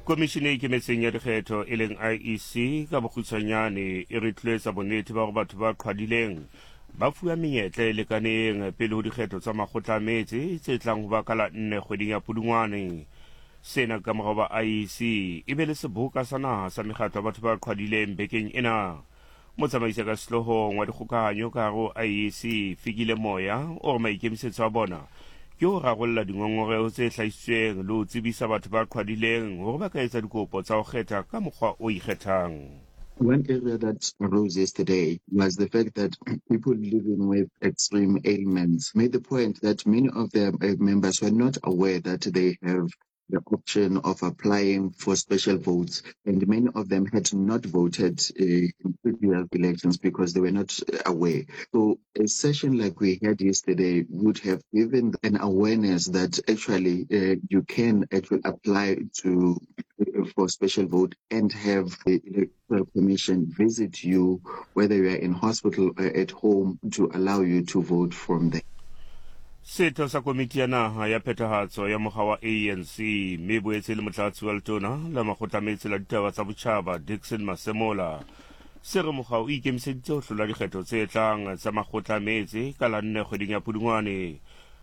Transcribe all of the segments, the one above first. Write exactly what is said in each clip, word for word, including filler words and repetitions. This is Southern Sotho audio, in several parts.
Komishene e Ikemetseng ya Dikgetho e leng I E C ka bokgutshwanyane e re tlotsa bonnete ba hore batho ba qhwadileng ba fuwa menyetla e lekaneng pele ho dikgetho tsa makgotla a metse tse tlang ho ba ka la nne kgweding ya Pudungwane. Sena ka morao ba I E C e be le seboka sa naha sa mekgatlo ya batho ba qhwadileng bekeng ena. Motsamaisi ka sehloohong wa dikgokahanyo ka hare ho I E C Fikile Moya o re maikemisetso a bona ke ho rarolla dingongoreho tse hlahisitsweng le ho tsebisa batho ba qhwadileng hore ba ka etsa dikopo tsa ho kgetha ka mokgwa o ikgethang. One area that arose yesterday was the fact that people living with extreme ailments made the point that many of their members were not aware that they have the option of applying for special votes, and many of them had not voted uh, in previous elections because they were not aware. So a session like we had yesterday would have given an awareness that actually uh, you can actually apply to uh, for special vote and have the Electoral Commission visit you, whether you are in hospital or at home, to allow you to vote from there. Setho sa komiti ya naha ya phethahatso ya mokga wa A N C mme boetse le motlatsi wa letona la makgotla metse la ditaba tsa botjhaba Dickson Masemola se re mokga o ikemiseditse ho hlola dikgetho tse tlang tsa makgotla metse ka la nne kgweding ya Pudungwane.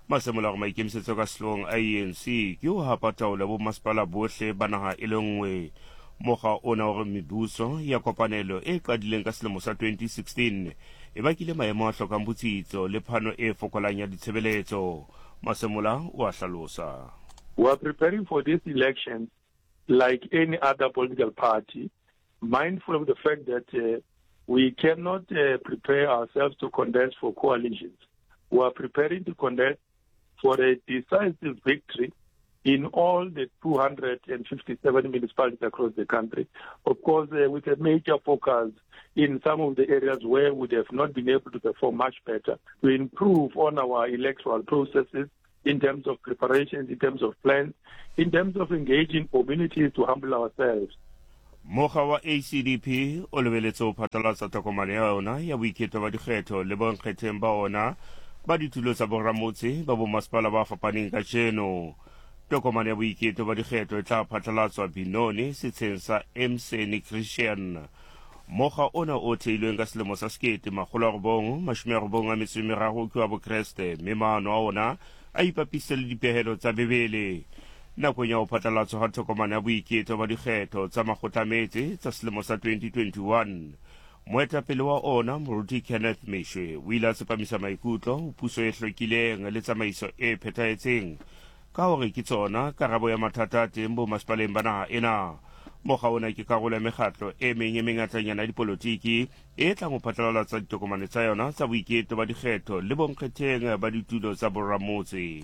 Masemola hore maikemisetso ka sehloohong a A N C ke ho hapa taolo ya bomasepala bohle ba naha e le nngwe. Mokga ona hore mebuso ya kopanelo e qadileng ka selemo sa twenty sixteen e bakile maemo a hlokang botsitso le phano e fokolang ya ditshebeletso. Masemola o a hlalosa. We are preparing for this election like any other political party, mindful of the fact that uh, we cannot uh, prepare ourselves to contest for coalitions. We are preparing to contest for a decisive victory in all the two hundred fifty-seven municipalities across the country. Of course, uh, with a major focus in some of the areas where we have not been able to perform much better, to improve on our electoral processes in terms of preparations, in terms of plans, in terms of engaging communities to humble ourselves. Mokga wa A C D P o lebeletse ho phatlalatsa tokomane ya yona ya boiketlo ba dikgetho le bonkgetheng ba ona ba ditulo tsa boramotse ba bomasepala ba fapaneng kajeno. Tokomane ya boiketlo ba dikgetho e tla phatlalatswa Benoni setsheng sa Emseni Christian. Mokga ona o theilweng ka selemo sa sekete makgolo a robong mashome a robong a metso e meraro ke wa Bokreste, mme maano a ona a ipapise le dipehelo tsa Bibele. Nakong ya ho phatlalatswa ha tokomane ya boiketlo ba dikgetho tsa makgotla metse tsa selemo sa twenty twenty-one, moetapele wa ona Moruti Kenneth Meshoe o ile a tsepamisa maikutlo ho puso e hlwekileng le tsamaiso e phethahetseng ka hore ke tsona karabo ya mathata a teng bomasepaleng ba naha ena. Mokga ona ke karolo ya mekgatlo e meng e mengatanyana ya dipolotiki e tlang ho phatlalatsa ditokomane tsa yona tsa boiketlo ba dikgetho le bonkgetheng ba ditulo tsa boramotse.